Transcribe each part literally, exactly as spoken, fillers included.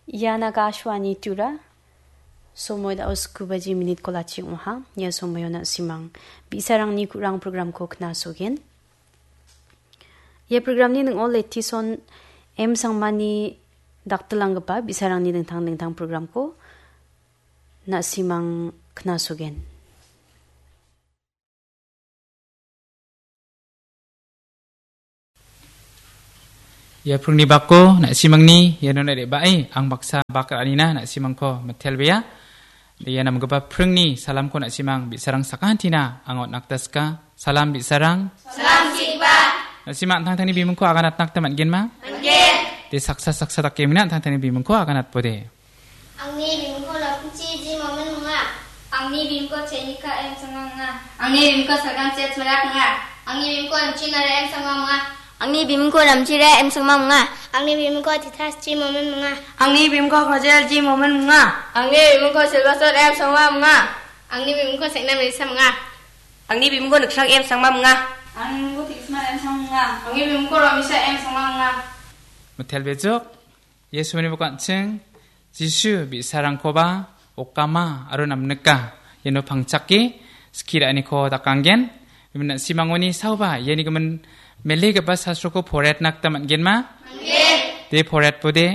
Ian Akashvani Tura. Somoi da·o sku baji minit kolachi ong·aha. Ia somoio na·simang bi·sarangni ku·rang programko knasogen. Ia programni ning·o Letison M Sangmani daktilanggipa bi·sarangni dingtang dingtang programko na·simang knasogen. Ia pringni bako na·simangni iano re·bae ang baksa bak ra·anina na·simangko mitelbea. Ia namgipa pringni salamko na·simang bi·sarang sakantina ang on·atna sika. Salam bi·sarang. Salam sigipa. Na·sima an·tangtangni bimungko aganatna gita man·genma? Man·gen. De saksa saksa dake mina an·tangtangni bimungko aganatbode. Angni bimungko Lamchi Jimomen munga. Angni bimungko Chenika M Sangma munga. Angni bimungko Salgam Sets Marak munga. Angni bimungko Lamchi Nara M Sangma munga. Angni bimungko Lamchi Nara M Sangma munga. Angni bimungko Titas Jimomen munga. Angni bimungko Kojel Jimomen munga. Angni bimungko Silvasot M Sangma munga. Angni bimungko Sekna Melisa munga. Angni bimungko Niksang M Sangma munga. Angni bimungko Tigisma M Sangma munga. Angni bimungko Romisa M Sangma munga. Metel bejok. Yesuni bok an·ching Jisu bi·sarangkoba okama aro namnika iano pangchake skie ra·aniko dakanggen. Imin na·simangoni saoba iani gimin mele gipa sastroko poretna gita man·genma? Man·gen. De poretbode.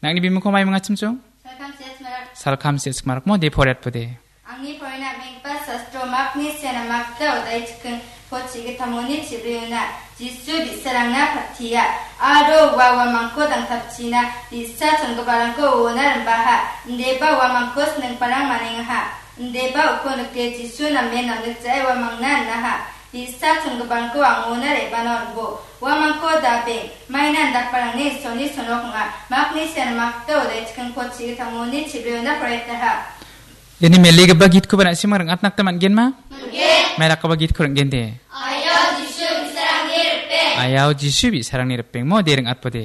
Nangni bimungko mai mingachimchung? Salkam Sets Marak. Salkam Sets Marakmo de poretbode. Angni porina menggipa sastro makni siana makta odai chiking po chigitamoni chibriona. Jisu bi·sarangna patia. Aro ua uamangko dangtapchina. Bi·sa chongiparangko uona rimbaha. Indeba uamangko snengparang manengaha. Indeba uko nike Jisu namen namnikjae uamangna inaha. Bi·sa chongiparangko angona re·bana on·bo. Uamangko dabeng. Maina indakparangni Isolni sonok ong·a. Makni siana makta odai chiking po chigitamoni chibriona poretaha. Iani melegipa gitkoba na·simang ring·atna gita man·genma? Man·gen. Mairakgipa gitko ring·gen de. Ayao Jisu bi·sarangni ripeng. Ayao Jisu bi·sarangni ripengmo de ring·atbode.